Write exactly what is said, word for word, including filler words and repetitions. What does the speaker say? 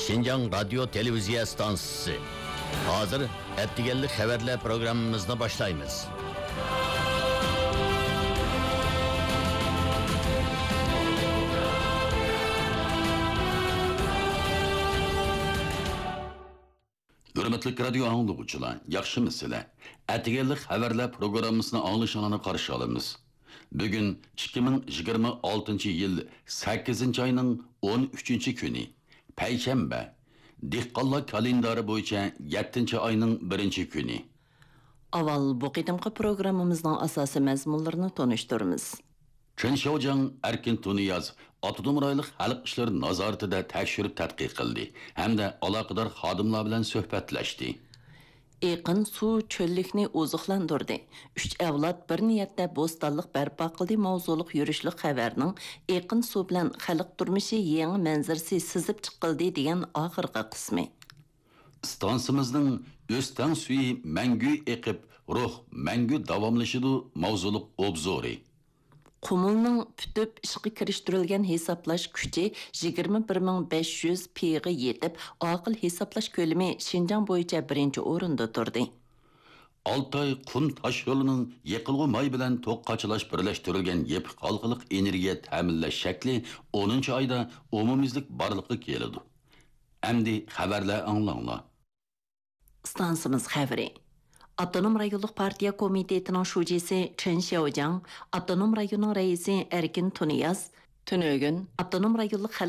شىنجاڭ رادىيو تېلېۋىزىيە ئىستانسىسى. ھازىر ئەتىگەنلىك خەۋەرلەر پروگراممىمىزنى باشلايمىز. ھۆرمەتلىك رادىيو ئاڭلىغۇچىلار، ياخشىمۇسىلەر؟ ئەتىگەنلىك خەۋەرلەر پروگراممىسىنى ئاڭلىشىڭلارنى قارشى ئالىمىز. بۈگۈن ئىككى مىڭ يىگىرمە ئالتىنچى يىل سەككىزىنچى ئاينىڭ ئون ئۈچىنچى كۈنى، پەيشەنبە. دېھقانلار كالېندارى بويىچە يەتتىنچى ئاينىڭ بىرىنچى كۈنى. ئاۋۋال بۇ قېتىمقى پروگراممىمىزنىڭ ئاساسىي مەزمۇنلىرىنى تونۇشتۇرىمىز. چېن شياۋجياڭ ئەركىن تۇنىياز ئاپتونوم رايونلۇق خەلق ئىشلىرى نازارىتىدە تەكشۈرۈپ تەتقىق قىلدى ھەمدە ئالاقىدار خادىملار بىلەن سۆھبەتلەشتى. ئېقىن سۇ چۆللۈكنى ئوزۇقلاندۇردى. ئۈچ ئەۋلاد بىر نىيەتتە بوستانلىق بەرپا قىلدى ماۋزۇلۇق يۈرۈشلۈك خەۋەرنىڭ ئېقىن سۇ بىلەن خەلق تۇرمۇشى يېڭى مەنزىرىسى سىزىپ چىقىلدى دېگەن ئاخىرقى قىسمى. ئىستانسىمىزنىڭ ئۆستەڭ سۈيى مەڭگۈ ئېقىپ، روھ مەڭگۈ داۋاملىشىدۇ ماۋزۇلۇق ئوبزورى. قۇمۇلنىڭ پۈتۈپ ئىشقا كىرىشتۈرۈلگەن ھېسابلاش كۈچى يىگىرمە بىر مىڭ بەش يۈز پىغا يېتىپ، ئاقىل ھېسابلاش كۆلىمى شىنجاڭ بويىچە بىرىنچى ئورۇندا تۇردى. ئالتاي قۇم تاشيولىنىڭ يېقىلغۇ ماي بىلەن توك قاچىلاش بىرلەشتۈرۈلگەن يېپىق ھالقىلىق ئېنېرگىيە تەمىنلەش شەكلى ئونىنچى ئايدا ئومۇميۈزلۈك بارلىققا كېلىدۇ. ئەمدى خەۋەرلەر ئاڭلاڭلار. ئىستانسىمىز خەۋىرى. ئاپتونوم رايونلۇق پارتىيە كومىتېتىنىڭ شۇجىسى چېن شياۋجياڭ، ئاپتونوم رايوننىڭ رەئىسى ئەركىن تۇنىياز، تۈنۈگۈن ئاپتونوم رايونلۇق خەلق